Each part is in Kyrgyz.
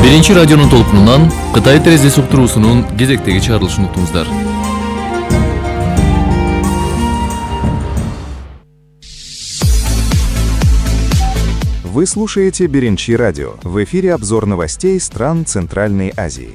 Биринчи радионун толкунунан Кытай терезеси уктуруусунун кезектеги чыгарылышын уктуңуздар. Вы слушаете Биринчи радио. В эфире обзор новостей стран Центральной Азии.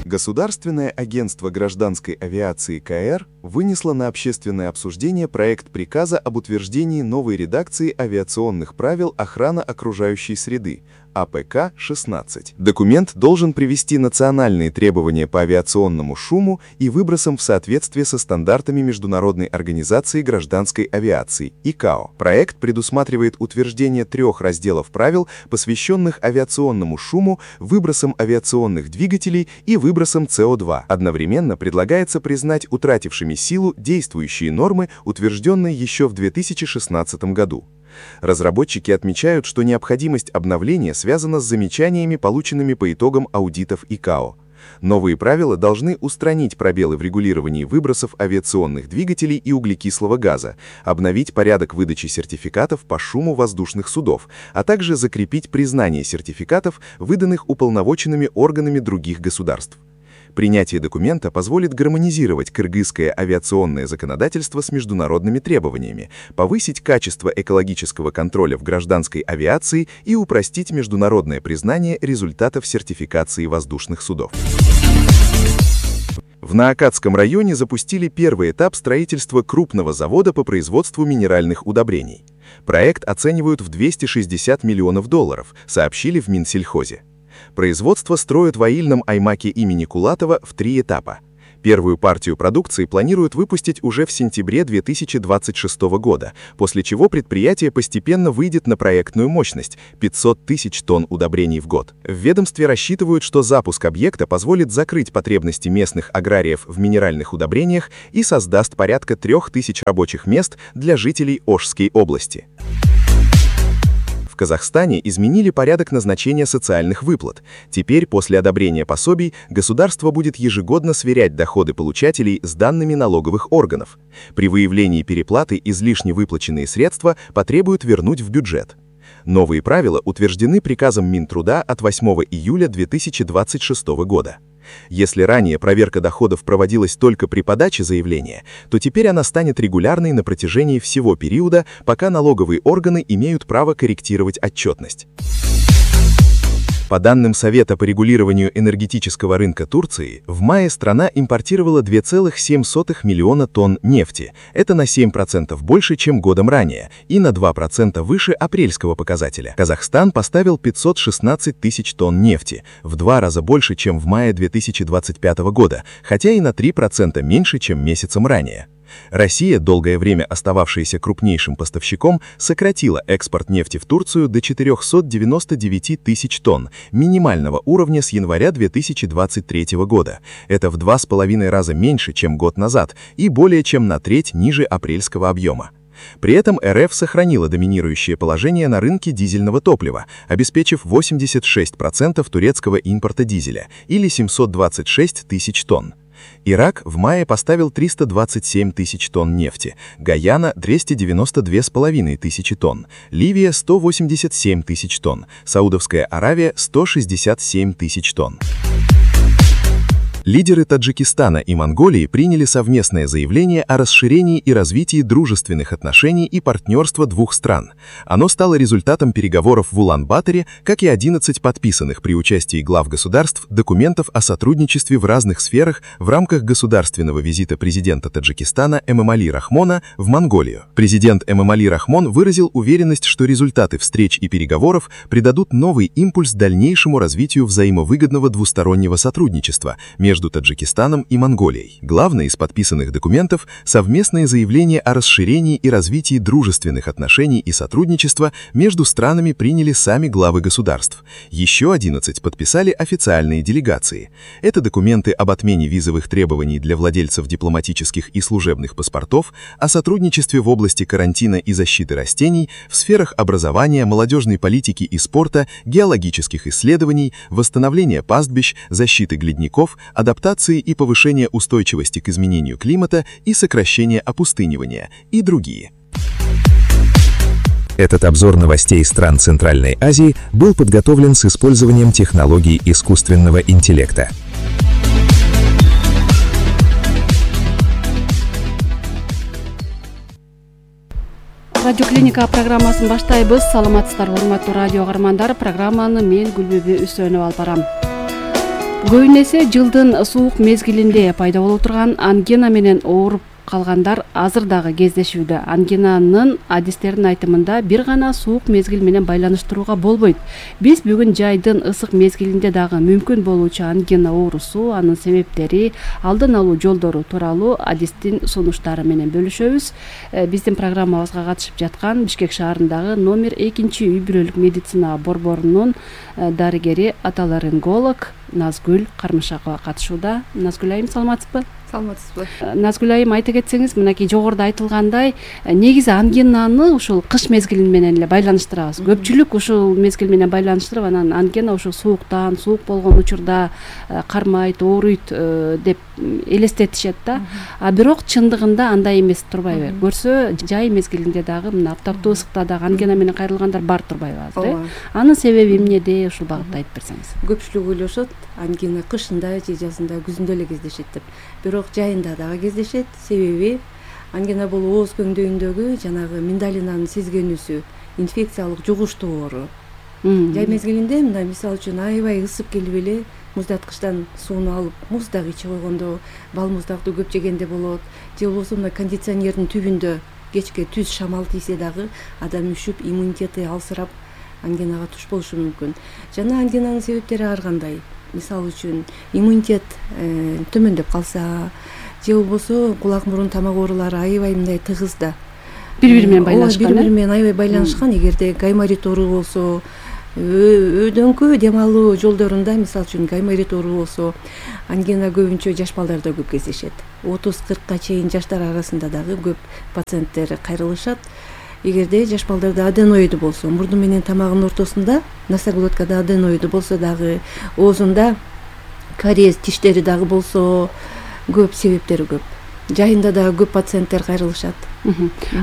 Государственное агентство гражданской авиации КАЭР вынесло на общественное обсуждение проект приказа об утверждении новой редакции авиационных правил охраны окружающей среды АПК-16. Документ должен привести национальные требования по авиационному шуму и выбросам в соответствие со стандартами Международной организации гражданской авиации ИКАО. Проект предусматривает утверждение 3 разделов правил, посвященных авиационному шуму, выбросам авиационных двигателей и выбросам СО2. Одновременно предлагается признать утратившими силу действующие нормы, утвержденные еще в 2016 году. Разработчики отмечают, что необходимость обновления связана с замечаниями, полученными по итогам аудитов ИКАО. Новые правила должны устранить пробелы в регулировании выбросов авиационных двигателей и углекислого газа, обновить порядок выдачи сертификатов по шуму воздушных судов, а также закрепить признание сертификатов, выданных уполномоченными органами других государств. Принятие документа позволит гармонизировать кыргызское авиационное законодательство с международными требованиями, повысить качество экологического контроля в гражданской авиации и упростить международное признание результатов сертификации воздушных судов. В Наакатском районе запустили первый этап строительства крупного завода по производству минеральных удобрений. Проект оценивают в $260 миллионов, сообщили в Минсельхозе. Производство строят в аильном аймаке имени Кулатова в 3 этапа. Первую партию продукции планируют выпустить уже в сентябре 2026 года, после чего предприятие постепенно выйдет на проектную мощность – 500 тысяч тонн удобрений в год. В ведомстве рассчитывают, что запуск объекта позволит закрыть потребности местных аграриев в минеральных удобрениях и создаст порядка 3000 рабочих мест для жителей Ошской области. В Казахстане изменили порядок назначения социальных выплат. Теперь, после одобрения пособий, государство будет ежегодно сверять доходы получателей с данными налоговых органов. При выявлении переплаты излишне выплаченные средства потребуют вернуть в бюджет. Новые правила утверждены приказом Минтруда от 8 июля 2026 года. Если ранее проверка доходов проводилась только при подаче заявления, то теперь она станет регулярной на протяжении всего периода, пока налоговые органы имеют право корректировать отчетность. По данным Совета по регулированию энергетического рынка Турции, в мае страна импортировала 2,7 миллиона тонн нефти. Это на 7% больше, чем годом ранее, и на 2% выше апрельского показателя. Казахстан поставил 516 тысяч тонн нефти, в 2 раза больше, чем в мае 2025 года, хотя и на 3% меньше, чем месяцем ранее. Россия, долгое время остававшаяся крупнейшим поставщиком, сократила экспорт нефти в Турцию до 499 тысяч тонн, минимального уровня с января 2023 года. Это в 2,5 раза меньше, чем год назад, и более чем на треть ниже апрельского объема. При этом РФ сохранила доминирующее положение на рынке дизельного топлива, обеспечив 86% турецкого импорта дизеля, или 726 тысяч тонн. Ирак в мае поставил 327 тысяч тонн нефти, Гаяна – 292,5 тысячи тонн, Ливия – 187 тысяч тонн, Саудовская Аравия – 167 тысяч тонн. Лидеры Таджикистана и Монголии приняли совместное заявление о расширении и развитии дружественных отношений и партнерства двух стран. Оно стало результатом переговоров в Улан-Баторе, как и 11 подписанных при участии глав государств документов о сотрудничестве в разных сферах в рамках государственного визита президента Таджикистана Эмомали Рахмона в Монголию. Президент Эмомали Рахмон выразил уверенность, что результаты встреч и переговоров придадут новый импульс дальнейшему развитию взаимовыгодного двустороннего сотрудничества между Таджикистаном и Монголией. Главное из подписанных документов – совместное заявление о расширении и развитии дружественных отношений и сотрудничества между странами приняли сами главы государств. Еще 11 подписали официальные делегации. Это документы об отмене визовых требований для владельцев дипломатических и служебных паспортов, о сотрудничестве в области карантина и защиты растений, в сферах образования, молодежной политики и спорта, геологических исследований, восстановления пастбищ, защиты ледников, адаптации и повышения устойчивости к изменению климата и сокращения опустынивания и другие. Этот обзор новостей стран Центральной Азии был подготовлен с использованием технологий искусственного интеллекта. Радио Клиника программасын баштайбыз. Саламатсыздарбы, урматтуу радио каармандар. Программаны мен Гүлбүбү Үсөнүп алып барам. Көбүн эсе жылдын суук мезгилинде пайда болуп турган ангина менен ооруп калгандар азыр дагы кездешүүдө. Ангинанын адистердин айтымында бир гана суук мезгил менен байланыштырууга болбойт. Биз бүгүн жайдын ысык мезгилинде дагы мүмкүн болуучу ангина оорусу, анын себептери, алдын алуу жолдору тууралуу адистин сунуштары менен бөлүшөбүз. Биздин программабызга катышып жаткан Бишкек шаарындагы номер 2 үй бүлөлүк медицина борборунун дарыгери, отоларинголог Назгүл Кармышакова катышууда. Назгүл айым, саламатсызбы? Саламатсызбы. Назгүл айым, айта кетсеңиз, мынакей жогоруда айтылгандай, негизи ангинаны ушул кыш мезгили менен эле байланыштырабыз. Көпчүлүк ушул мезгил менен байланыштырып, анан ангина ушул сууктан, суук болгон учурда кармайт, ооруйт деп элестетишет да. А бирок чындыгында андай эмес турбайбы? Көрсө, жай мезгилинде дагы мына аптаптуу ысыкта дагы ангина менен кайрылгандар бар турбайбы азыр? Анын себеби эмнеде? Ушул багытта айтып берсеңиз. Көпчүлүк ойлошот, ангина кышында же жазында, күзүндө эле кездешет деп. Бирок жайында дагы кездешет. Себеби ангина бул ооз көңдөйүндөгү жанагы миндалинанын сезгенүүсү, инфекциялык жугуштуу оору. Жай мезгилинде мына мисалы үчүн аябай ысып келип эле муздаткычтан сууну алып муздак ичип койгондо, бал муздакты көп жегенде болот. Же болбосо мына кондиционердин түбүндө кечке түз шамал тийсе дагы адам үшүп, иммунитети алсырап ангинага туш болушу мүмкүн. Жана ангинанын себептери ар кандай. Мисалы үчүн иммунитет төмөндөп калса, же болбосо кулак мурун тамак оорулары аябай мындай тыгыз да. Бири-бири менен байланышкан. Бири-бири менен аябай байланышкан. Эгерде гайморит оору болсо, өйдөңкү дем алуу жолдорунда мисалы үчүн гайморит оору болсо, ангина көбүнчө жаш балдарда көп кездешет. 30-40ка чейин жаштар арасында дагы көп пациенттер кайрылышат. Эгерде жаш балдарда аденоиды болсо, мурду менен тамагынын ортосунда, носоглоткада аденоиды болсо дагы, оозунда кариес тиштери дагы болсо, көп себептери көп. Жайында дагы көп пациенттер кайрылышат.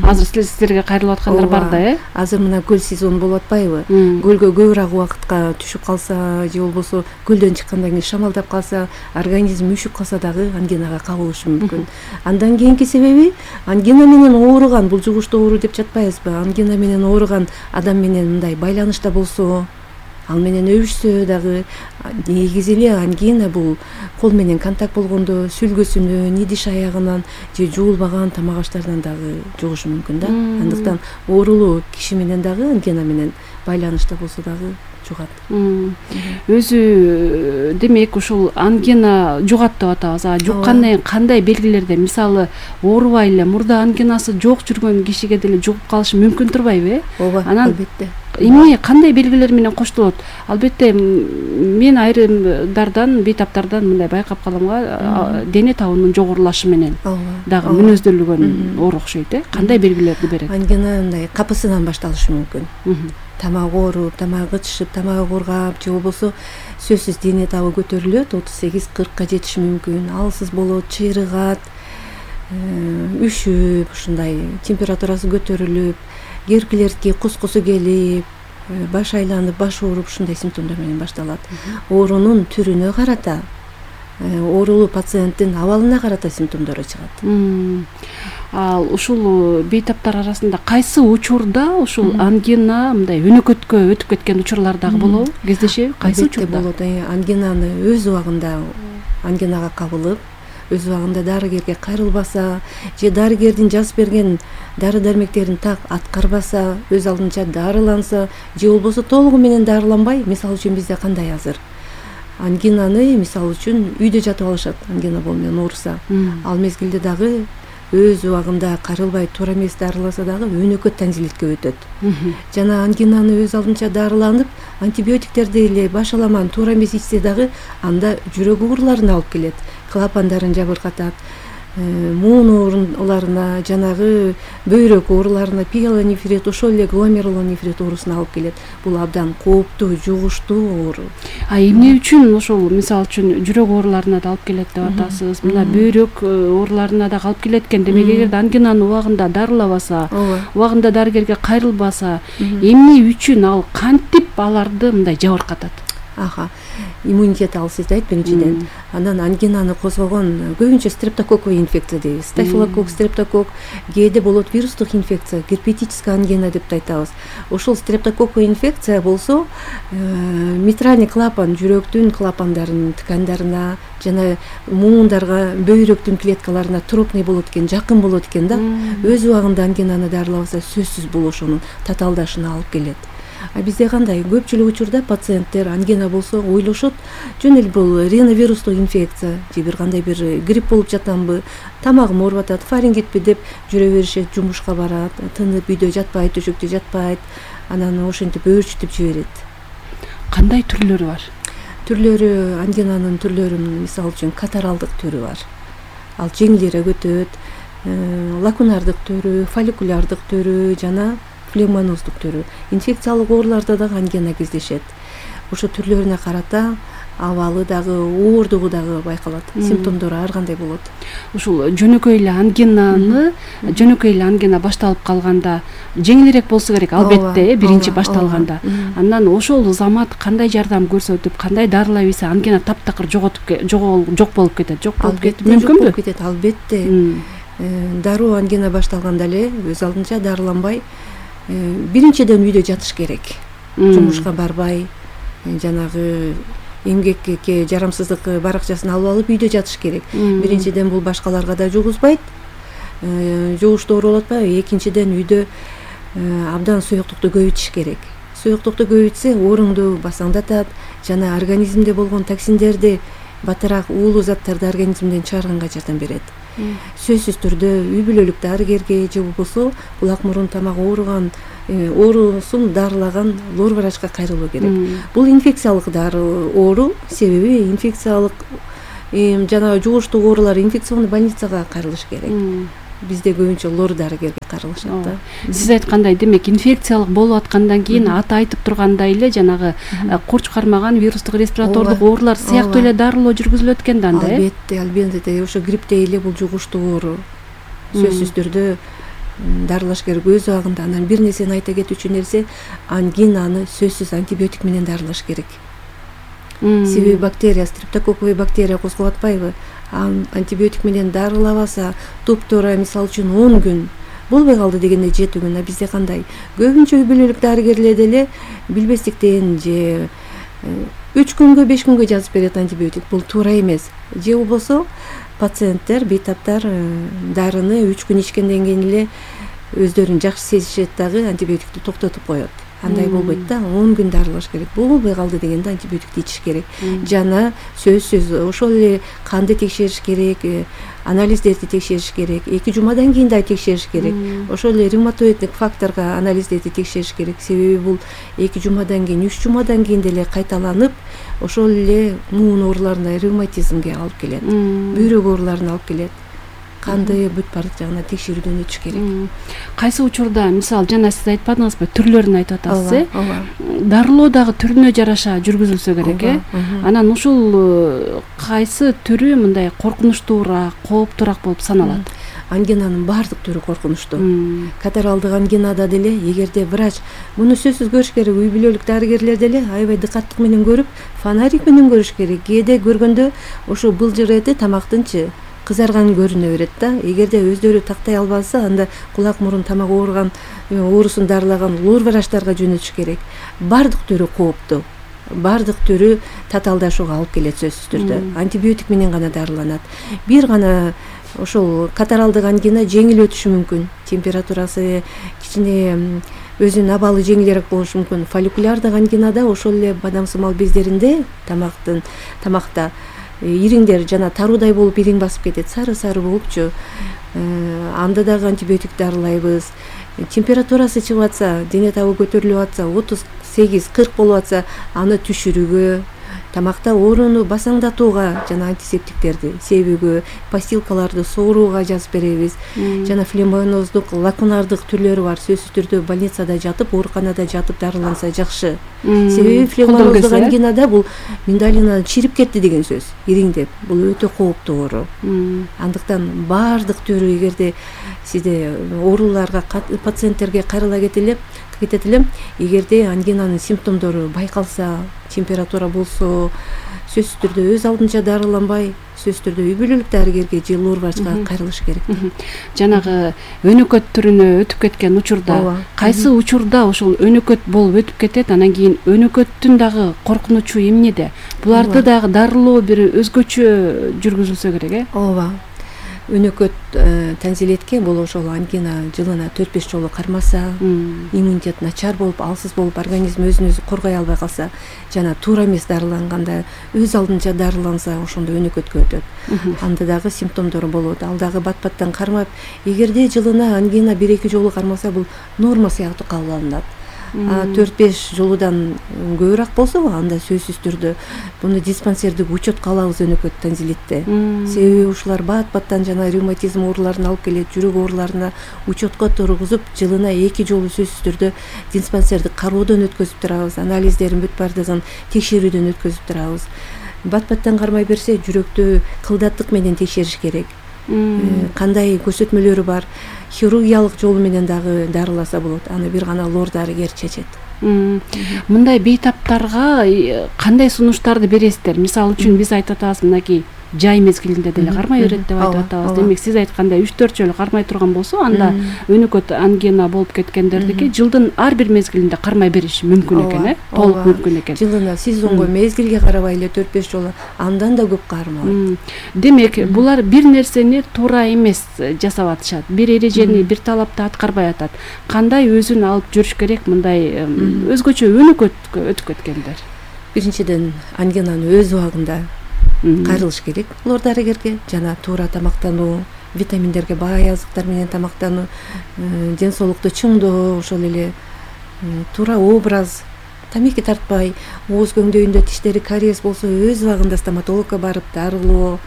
Азыр сиздерге кайрылып аткандар бар да, Азыр мына көл сезону болуп атпайбы? Көлгө көбүрөөк убакытка түшүп калса, же болбосо көлдөн чыккандан кийин шамалдап калса, организм үшүп калса дагы ангинага кабылышы мүмкүн. Андан кийинки себеби ангина менен ооруган, бул жугуштуу оору деп жатпайбызбы? Ангина менен ооруган адам менен мындай байланышта болсо, ал менен өбүшсө дагы, негизи эле ангина бул кол менен контакт болгондо сүлгөсүнөн, идиш аягынан же жуулбаган тамак аштардан дагы жугушу мүмкүн да. Андыктан оорулуу киши менен дагы ангина менен байланышта болсо дагы жугат. Өзү демек ушул ангина жугат деп атабыз. Жуккандан кийин кандай белгилерде, мисалы, оорубай эле мурда ангинасы жок жүргөн кишиге деле жугуп калышы мүмкүн турбайбы? Ооба, албетте. Эмне кандай белгилер менен коштолот? Албетте мен айрымдардан, бейтаптардан мындай байкап каламга, дене табынын жогорулашы менен дагы мүнөздөлгөн оору окшойт, Кандай белгилерди берет? Ангина мындай капысынан башталышы мүмкүн. Тамак ооруп, тамак ычышып, тамак ооргап, же болбосо сөзсүз дене табы көтөрүлөт, 38-40ка жетиши мүмкүн. Алсыз болот, чыйрыгат, үшүп, ушундай температурасы көтөрүлүп, герклерки кускусу келип, баш айланып, баш ооруп, ушундай симптомдор менен башталат. Оорунун түрүнө карата, оорулуу пациенттин абалына карата симптомдору чыгат. Ал ушул бейтаптар арасында кайсы учурда ушул ангина мындай өнөкөткө өтүп кеткен учурлар дагы болобу? Кездешеби? Кайсы учурда болот? Ангинаны өз убагында ангинага кабылып, өз убагында дарыгерге кайрылбаса, же дарыгердин жазып берген дары-дармектерин так аткарбаса, өз алдынча дарыланса, же болбосо толугу менен дарыланбай, мисалы үчүн бизде кандай азыр ангинаны мисалы үчүн үйдө жатып алышат, ангина менен ооруса. Ал мезгилде дагы өз убагында кайрылбай туура эмес дарыласа дагы өнөкөт тонзиллитке өтөт. Жана ангинаны өз алдынча дарыланып, антибиотиктерди эле баш аламан туура эмес ичсе дагы анда жүрөк ууруларына алып келет, клапандарын жабыркатат, муун ооруларына, жанагы бөйрөк ооруларына, пиелонефрит, ошол эле гломерулонефрит оорусуна алып келет. Бул абдан кооптуу, жугуштуу оору. Эмне үчүн ошол мисалы үчүн жүрөк ооруларына да алып келет деп атасыз, мына бөйрөк ооруларына да алып келет экен. Демек эгерде ангинаны убагында дарылабаса, убагында дарыгерге кайрылбаса, эмне үчүн ал кантип аларды мындай жабыркатат? Иммунитет алсыздайт биринчиден. Андан ангинаны козгогон көбүнчө стрептококковый инфекция дейбиз. Стафилококк, стрептококк, кээде болот вирустук инфекция, герпетическая ангина деп айтабыз. Ошол стрептококковый инфекция болсо, митральный клапан, жүрөктүн клапандарынын ткандарына жана муундарга, бөйрөктүн клеткаларына тропный болот экен, жакын болот экен да. Өз убагында ангинаны дарылабаса, сөзсүз бул ошонун татаалдашына алып келет. Бизде кандай? Көпчүлүк учурда пациенттер ангина болсо ойлошот, жөн эле бул риновирустук инфекция же бир кандай бир грипп болуп жатамбы, тамагым ооруп атат, фарингитпи деп жүрө беришет, жумушка барат, тынып үйдө жатпайт, төшөктө жатпайт, анан ошентип өөрчүтүп жиберет. Кандай түрлөрү бар? Түрлөрү, ангинанын түрлөрүнүн мисалы үчүн катаралдык түрү бар. Ал жеңилирээк өтөт, лакунардык түрү, фолликулярдык түрү жана пневмонуздук түрү. Инфекциялык ооруларда дагы ангина кездешет. Ошо түрлөрүнө карата абалы дагы, оордугу дагы байкалат. Симптомдору ар кандай болот. Ушул жөнөкөй эле ангинаны, жөнөкөй эле ангина башталып калганда жеңилирээк болсо керек, албетте, биринчи башталганда. Андан ошол замат кандай жардам көрсөтүп, кандай дарылай берсе ангина таптакыр жок болуп кетет. Жок болуп кетип мүмкүнбү? Кетет, албетте. Дароо ангина башталганда эле өз алдынча дарыланбай, биринчиден үйдө жатыш керек. Жумушка барбай, жанагы эмгекке жарамсыздык баракчасын алып үйдө жатыш керек. Биринчиден бул башкаларга да жугузбайт, жугуштуу ооруп атпайбы. Экинчиден үйдө абдан суюктукту көбөйтүш керек. Суюктукту көбөйтсө ооруңду басаңдатат, жана организмде болгон токсиндерди, батыраак уулуу заттарды организмден чыгарганга жардам берет. Сөзсүз түрдө үй бүлөлүк дарыгерге же болбосо кулак мурун тамак ооруган, оорусун дарылаган лор врачка кайрылуу керек. Бул инфекциялык оору, себеби инфекциялык жана жугуштуу оорулар инфекционный больницага кайрылыш керек. Бизде көбүнчө лор дарыгерге кайрылышат да. Сиз айткандай, демек инфекциялык болуп аткандан кийин аты айтып тургандай эле жанагы курч кармаган вирустук респиратордук оорулар сыяктуу эле дарылоо жүргүзүлөт экен да анда, э? Албетте, ошо грипптей эле бул жугуштуу оору. Сөзсүз түрдө дарылаш керек өз убагында. Анан бир нерсени айта кетүүчү нерсе, ангинаны сөзсүз антибиотик менен дарылаш керек. Себеби бактерия, стрептококковый бактерия козгоп атпайбы? Антибиотик менен дарылабаса, туптуура мисалы үчүн 10 күн болбой калды дегенде 7 күн. Бизде кандай? Көбүнчө үй бүлөлүк дарыгерлер деле билбестиктен же 3 күнгө, 5 күнгө жазып берет антибиотик. Бул туура эмес. Же болбосо пациенттер, бейтаптар дарыны 3 күн ичкенден кийин эле өздөрүн жакшы сезишет дагы антибиотикти токтотуп коет. Андай болбойт да, 10 күн дарылаш керек. Болбой калды дегенде антибиотикти ичиш керек. Жана сөзсүз ошол эле канды текшериш керек, анализдерди текшериш керек. 2 жумадан кийин да текшериш керек. Ошол эле ревматоиддик факторго анализдерди текшериш керек. Себеби бул 2 жумадан кийин, 3 жумадан кийин деле кайталанып, ошол эле муун ооруларына, ревматизмге алып келет. Бөйрөк ооруларына алып келет. Канды бүт бардык жагына текшерүүдөн өтүш керек. Кайсы учурда, мисалы жана сиз айтпадыңызбы, түрлөрүн айтып атасыз, э? Дарылоо дагы түрүнө жараша жүргүзүлсө керек, э? Анан ушул кайсы түрү мындай коркунучтуураак, кооптуураак болуп саналат? Ангинанын баардык түрү коркунучтуу. Катаралдык ангинада деле эгерде врач муну сөзсүз көрүш керек, үй бүлөлүк дарыгерлер деле аябай дыкаттык менен көрүп, фонарик менен көрүш керек. Кээде көргөндө ошо былжыр эти тамактынчы кызарган көрүнө берет да. Эгерде өздөрү тактай албаса, анда кулак мурун тамак ооруган, оорусун дарылаган лор врачтарга жөнөтүш керек. Баардык түрү кооптуу. Баардык түрү татаалдашууга алып келет сөзсүз түрдө. Антибиотик менен гана дарыланат. Бир гана ошол катаралдык ангина жеңил өтүшү мүмкүн. Температурасы кичине өзүнүн абалы жеңилирээк болушу мүмкүн. Фолликулярдык ангинада ошол эле бадамсымал бездеринде тамакта ириңдер жана таруудай болуп ириң басып кетет, сары болупчу. Анда дагы антибиотик дарылайбыз. Температурасы чыгып атса, дене табы көтөрүлүп атса, 38-40 болуп атса, аны түшүрүүгө тамакта ооруну басаңдатууга жана антисептиктерди себүүгө, постилкаларды сооруууга жазып беребиз. Жана флебоноздук, лакунардык түрлөрү бар. Сөзсүз түрдө больницада жатып, ооруканада жатып дарыланса жакшы. Себеби флебоноздук ангинада бул миндалина чирип кетти деген сөз, ириңдеп. Бул өтө кооптуу оору. Андыктан баардык түрү, эгерде сизде ооруларга пациенттерге кайрыла кетет элем, эгерде ангинанын симптомдору байкалса, температура болсо, сөзсүз түрдө өз алдынча дарыланбай, сөзсүз түрдө үй бүлөлүк дарыгерге же лор врачка кайрылыш керек. Жанагы өнөкөт түрүнө өтүп кеткен учурда, кайсы учурда ошол өнөкөт болуп өтүп кетет, анан кийин өнөкөттүн дагы коркунучу эмнеде? Буларды дагы дарылоо бир өзгөчө жүргүзүлсө керек, Ооба. Өнөкөт тензилетке бул ошол ангина жылына 4-5 жолу кармаса, иммунитет начар болуп, алсыз болуп, организм өзүн өзү коргой албай калса, жана туура эмес дарыланганда, өз алдынча дарыланса, ошондо өнөкөткө өтөт. Анда дагы симптомдору болот. Ал дагы бат-баттан кармап, эгерде жылына ангина 1-2 жолу кармаса, бул норма сыяктуу кабыл алынат. 4-5 жолудан көбүрөөк болсо, анда сөзсүз түрдө буну диспансердик учетко алабыз өнөкөт тензилитте. Себеби ушулар бат-баттан жана ревматизм ооруларын алып келет, жүрөк ооруларына учетко тургузуп, жылына 2 жолу сөзсүз түрдө диспансердик кароодон өткөзүп турабыз, анализдерин бүт бардыгын текшерүүдөн өткөзүп турабыз. Бат-баттан кармай берсе, жүрөктү кылдаттык менен текшериш керек. Кандай көрсөтмөлөрү бар, хирургиялык жолу менен дагы дарыласа болот. Аны бир гана лор дарыгер чечет. Мындай бейтаптарга кандай сунуштарды бересиздер? Мисалы үчүн биз айтып атабыз, мынакей жай мезгилинде деле кармай берет деп айтып атабыз. Демек сиз айткандай 3-4 жолу кармай турган болсо, анда өнөкөт ангина болуп кеткендердики жылдын ар бир мезгилинде кармай бериши мүмкүн экен, толук мүмкүн экен. Жылына сезонго, мезгилге карабай эле 4-5 жолу, андан да көп кармалат. Демек, булар бир нерсени туура эмес жасап атышат. Бир эрежени, бир талапты аткарбай атат. Кандай өзүн алып жүрүш керек мындай өзгөчө өнөкөткө өтүп кеткендер? Биринчиден, ангинаны өз убагында кайрылыш керек лор дарыгерге, жана туура тамактануу, витаминдерге бай азыктар менен тамактануу, ден соолукту чыңдоо, ошол эле туура образ, тамеки тартпай, ооз көңдөйүндө тиштери кариес болсо, өз убагында стоматологко барып дарылоо,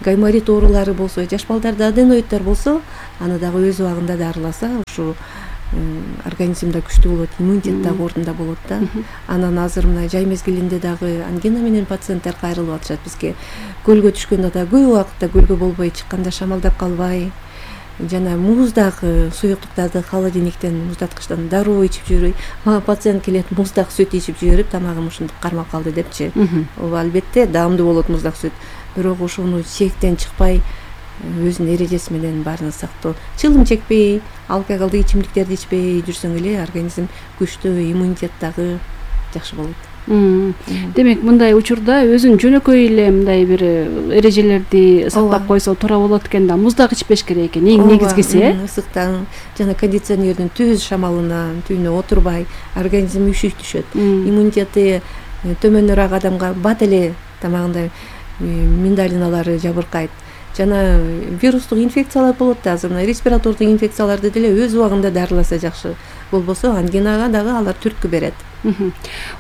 гайморит оорулары болсо, жаш балдарда аденоиддер болсо, аны дагы өз убагында дарыласа, ушу организмда күчтүү болот, иммунитет дагы ордунда болот да. Анан азыр мына жай мезгилинде дагы ангина менен пациенттер кайрылып атышат бизге. Көлгө түшкөндө да көп убакытта көлгө болбой чыкканда шамалдап калбай, жана муздагы суюктуктарды холодильниктен, муздаткычтан дароо ичип жүрбөй. Мага пациент келет, муздак сүт ичип жиберип, тамагым ушинтип кармап калды депчи. Ооба, албетте даамдуу болот муздак сүт, бирок ошону чектен чыкпай, өзүнүн эрежеси менен баарын сактоо. Чылым чекпей, алкоголдук ичимдиктерди ичпей жүрсөң эле организм күчтүү, иммунитет дагы жакшы болот. Демек, мындай учурда өзүн жөнөкөй эле мындай бир эрежелерди сактап койсо туура болот экен да. Муздак ичпеш керек экен, эң негизгиси, ысыктан жана кондиционердин түз шамалына түбүнө отурбай, организм үшүк түшөт. Иммунитети төмөнүрөөк адамга бат эле тамагында миндалиналары жабыркайт. Жана вирустук инфекциялар болот да, азыр респиратордук инфекцияларды деле өз убагында дарыласа жакшы. Болбосо ангинага дагы алар түрткү берет.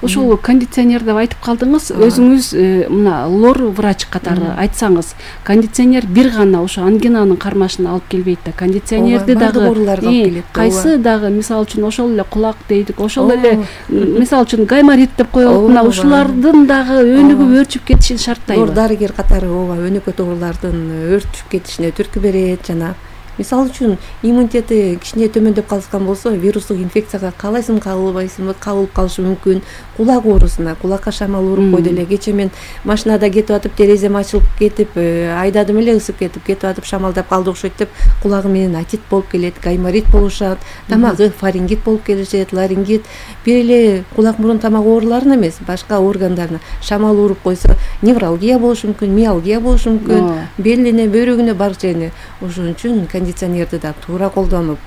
Ошол кондиционер деп айтып калдыңыз, өзүңүз мына лор врач катары айтсаңыз, кондиционер бир гана ошо ангинанын кармашына алып келбейт да, кондиционерди дагы кайсы дагы, мисалы үчүн ошол эле кулак дейдик, ошол эле мисалы үчүн гайморит деп коелук, мына ушулардын дагы өнүгүп өрчүп кетишин шарттайбы? Лор дарыгер катары ооба өнөкөт оорулардын өрчүп кетишине түрткү берет. Жана мисалы үчүн иммунитети кичине төмөндөп калышкан болсо, вирустук инфекцияга каалайсың кабылбайсың, кабылып калышы мүмкүн. Кулак оорусуна, кулакка шамал уруп койду эле. Кече мен машинада кетип атып, терезем ачылып кетип, айдадым эле, ысып кетип атып, шамалдап калды окшойт деп, кулагы менен атит болуп келет, гайморит болушат, тамагы фарингит болуп келишет, ларингит. Бир эле кулак, мурун, тамак ооруларына эмес, башка органдарына шамал уруп койсо, невралгия болушу мүмкүн, миалгия болушу мүмкүн, белине, бөйрөгүнө, бар жерине. Ошон үчүн кондиционерди да туура колдонуп,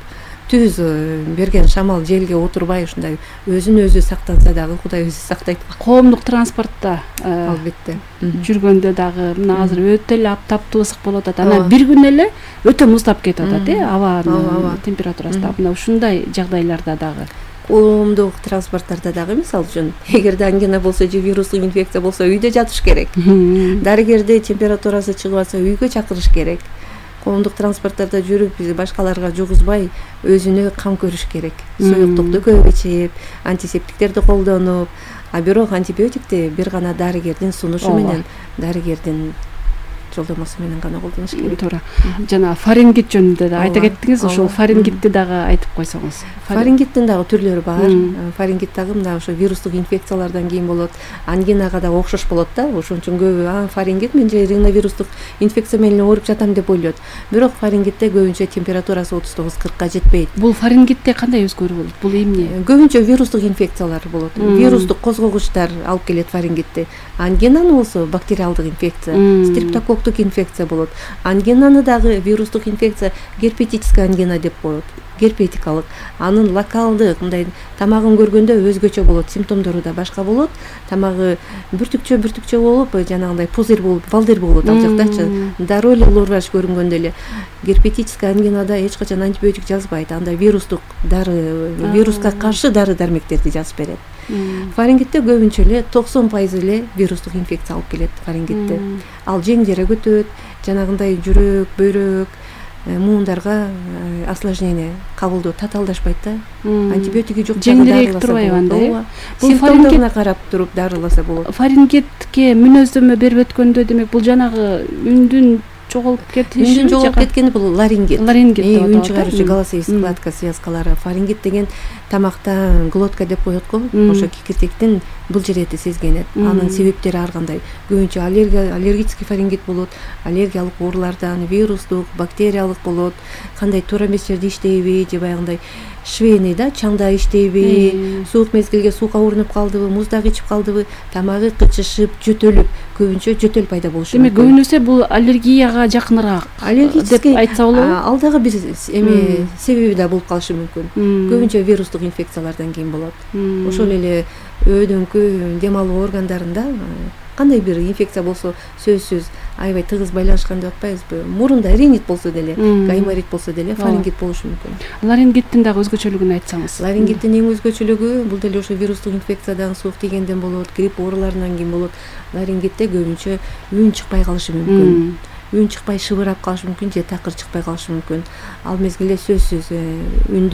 түз берген шамал желге отурбай, ушундай өзүн өзү сактанса дагы Кудай өзү сактайт. Коомдук транспортто албетте жүргөндө дагы мына азыр өтө эле таптуу ысык болуп атат. Анан бир күн эле өтө муздап кетип атат, абанын температурасы да. Мына ушундай жагдайларда дагы коомдук транспорттарда дагы мисалы үчүн эгерде ангина болсо же вирустук инфекция болсо үйдө жатыш керек. Дарыгерди температурасы чыгып атса үйгө чакырыш керек. Коомдук транспорттарда жүрүп биз башкаларга жугузбай өзүнө кам көрүш керек. Суюктукту көп ичип, антисептиктерди колдонуп, а бирок антибиотикти бир гана дарыгердин сунушу менен, дарыгердин жолдомосу менен гана колдонуш керек. Туура. Жана фарингит жөнүндө да айта кеттиңиз, ошол фарингитти дагы айтып койсоңуз. Фарингиттин дагы түрлөрү бар. Фарингит дагы мына ошо вирустук инфекциялардан кийин болот. Ангинага да окшош болот да. Ошон үчүн көбү фарингит мен же риновирустук инфекция менен ооруп жатам деп ойлойт. Бирок фарингитте көбүнчө температурасы 39-40ка жетпейт. Бул фарингитте кандай өзгөрүү болот? Бул эмне? Көбүнчө вирустук инфекциялар болот. Вирустук козгогучтар алып келет фарингитти. Ангинаны болсо бактериалдык инфекция, стрептококктук инфекция болот. Ангинаны дагы вирустук инфекция герпетическая ангина деп коет. Герпетикалык. Анын локалдык мындай тамагын көргөндө өзгөчө болот, симптомдору да башка болот. Тамагы бүртүкчө болуп, жанагындай пузырь болуп, балдыр болот ал жактачы. Дароо эле лор көрүнгөндө эле герпетическая ангинада эч качан антибиотик жазбайт. Анда вирустук дары, вируска каршы дары-дармектерди жазып берет. Фарингитте көбүнчө эле 90% эле вирустук инфекция алып келет фарингитте. Ал жеңдере көтөт, жанагындай жүрөк, бөйрөк, муундарга осложнение кабылдоо татаалдашпайт да. Антибиотиги жок жеңдерээк турбайбы анда? Бул симптомдоруна карап туруп дарыласа болот. Фарингитке мүнөздөмө берип өткөндө демек бул жанагы үндүн жоголуп кетиши, үндүн жоголуп кеткени бул ларингит. Ларингит деп аталат. Үн чыгаруучу голосовый складка связкалары. Фарингит деген тамактан глотка деп коет го. Ошо кикиртектин бул жерети сезгенет. Анын себептери ар кандай. Көбүнчө аллергический фарингит болот. Аллергиялык оорулардан, вирустук, бактериялык болот. Кандай туура эмес жерде иштейби же баягындай швейный да чаңда иштейби, суук мезгилге суукка урунуп калдыбы, муздак ичип калдыбы, тамагы кычышып, жөтөлүп, көбүнчө жөтөл пайда болушу мүмкүн. Демек көбүнесе бул аллергияга жакыныраак деп айтса болобу? Ал дагы бир себеби да болуп калышы мүмкүн. Көбүнчө вирустук инфекциялардан кийин болот. Ошол эле өйдөңкү, дем алуу органдарында кандай бир инфекция болсо сөзсүз аябай тыгыз байланышкан деп атпайбызбы? Мурунда ринит болсо деле, гайморит болсо деле фарингит болушу мүмкүн. Ларингиттин дагы өзгөчөлүгүн айтсаңыз. Ларингиттин эң өзгөчөлүгү бул деле ошо вирустук инфекциядан, суук тийгенден болот, грипп ооруларынан кийин болот. Ларингитте көбүнчө үн чыкпай калышы мүмкүн. Үн чыкпай шыбырап калышы мүмкүн же такыр чыкпай калышы мүмкүн. Ал мезгилде сөзсүз үндү